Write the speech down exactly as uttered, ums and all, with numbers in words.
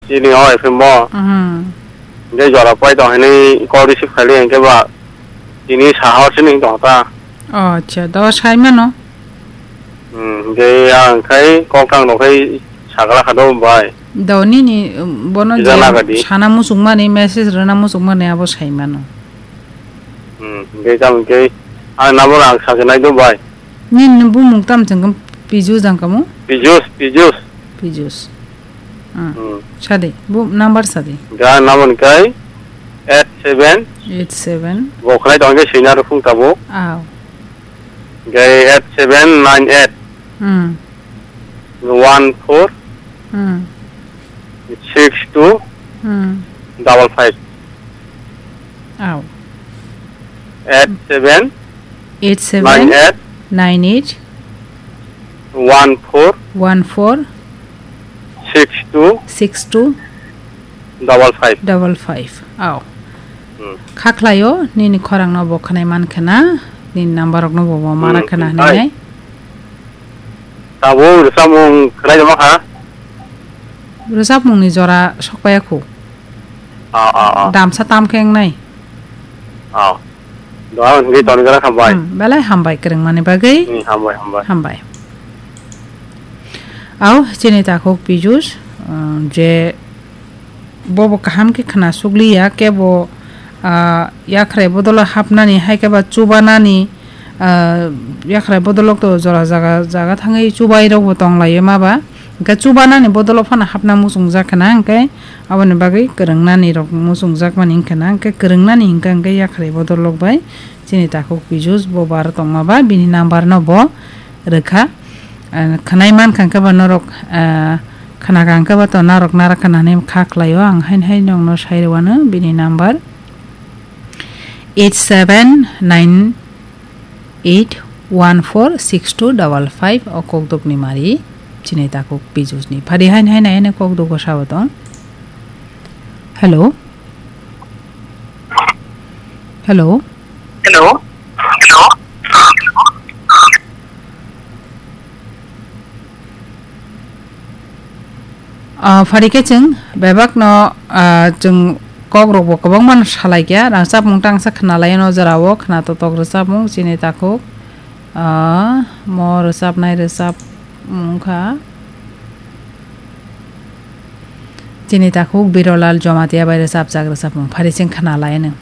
Chini o F M bo. Hmm. Hingke jora pai tong hini call receive khaili hingke ba tini sahor sini tong ta. Oh, acha, do sai mano. Hmm, hingke ang khai kok kang no khai sagala kha do bai. Do nini, um, bono Ija je lagadi. Sana musuk mani, message rwna musuk mani abo sai mano. Hmm, hingke jam hingke ang number ang sajanai do bai. Nini bumung tam chengkam Pijus jang kamo? Pijus, Pijus. Pijus. Ah, Hmm. Sadi, bu number sadi. Ga number kai eight seven. Eight seven. Bo khlai tong ke senior phung tabuk. Aw. Gai eight seven nine eight. Hmm. One four. Hmm. Six two. Hmm. Double five. Aw. Eight seven. Eight seven. Nine eight. Nine eight. One four. One four. Six two. Six two. Double five. Double five. Aw. Hmm. Kha khlaio, nini khorang no bo khwnai man khna, nini number rok no bo bo mara Hmm, khna hmm, hinwi hai. Nai. Tabuk rwchapmung khwlai tongma kha? Rwchapmung ni jora sokpaiya khu. Ah, ah, ah. Damsa tam khe wngnai. Ah. Doha hwnwi toni jora hambai. Hmm, belai hambai kwrwngmani bagwi. Hmm, hambai, hambai. Hambai. Au, chini takhuk Pijus, uh, je Bobo kaham khe khna sukliya, kebo, ah, yakhrai bodolo hapnani, hai khe ba chubanani, ah, yakhrai bodolok to jora jaga, jaga thangwi chubairokbo tonglaio maba. Hwnkhe chubanani bodolo phano hapna muchungjak khna, hwnkhe aboni bagwi kwrwngnanirok muchungjakmani wngkha na, hwnkhe kwrwngnani hwnkha hwnkhe yakhrai bodolok bai chini takhuk Pijus bobo aro tongmaba, bini number no bo rwkha. Ah, khwnai mankha hwnkhe ba norok, ah, khwnakha hwnkhe ba to norok nara khna hinwi kha khlaio. Ang haino haino nokno sai rwano bini number eight seven nine eight one four six two double five o kokdokni mari chini takhuk Pijusni. Phari haino haino haino kokdok bwsao tong. Hello? Hello? Hello? Hello? Ah, phari khe chwng bebak no, ah, chwng kok rok bo kwbangma no salai kha, rangchapmung tangsa khna lai no jora o khna totok rwchapmung chini takhuk, ah, mo rwchapnai rwchapmung kha chini takhuk Birolal Jomatia bai rwchapjak rwchapmung phari chwng khna lai no.